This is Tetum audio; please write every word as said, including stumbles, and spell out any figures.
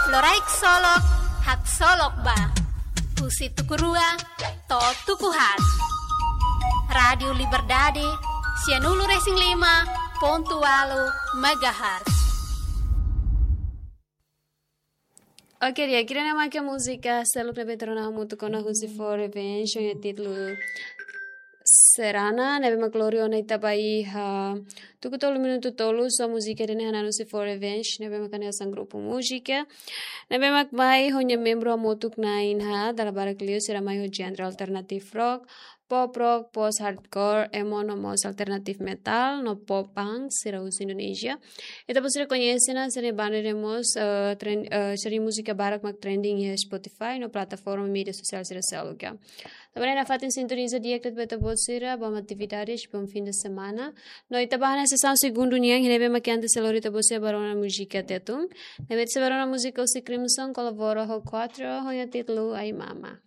Loraik solok, haksolok ba. Husi tuku rua to'o tuku haat. Rádiu Liberdade, sianulu-resin-lima pontu ualu megahertz. Oke, di'ak, ida-ne'e mak múzika seluk ne'ebé tuur ona hamutuk ona husi For Revenge, ho nia títulu Serana, ne'ebé mak lori ona ita ba iha tuku tolu minutu tolu, so múzika ida-ne'e hananu husi For Revenge, ne'ebé mak hanesan grupu múzika ne'ebé mak mai ho nia membru hamutuk na'in haat, dala barak liu sira mai ho genre alternative rock, pop rock, post hardcore, emo no mós alternative metal, no pop punk, sira husi Indonézia. Ita-boot sira koñese ona, sira-nia banda ne'e mós, eh, tren-, eh, sira-nia múzika barak mak trending iha Spotify, no plataforma média sosiál sira seluk. Tanba ne'e nafatin sintoniza di'ak de'it ba ita-boot sira, bom atividades, bom fim de semana. No ita bá hanesan sesaun segundu nian, ne'ebé mak antes sei lori ita-boot sira ba rona múzika Tetun. Ne'ebé ita sei ba rona múzika husi Crimson, kolabora ho Quatro, ho nia títulu Ai Mama.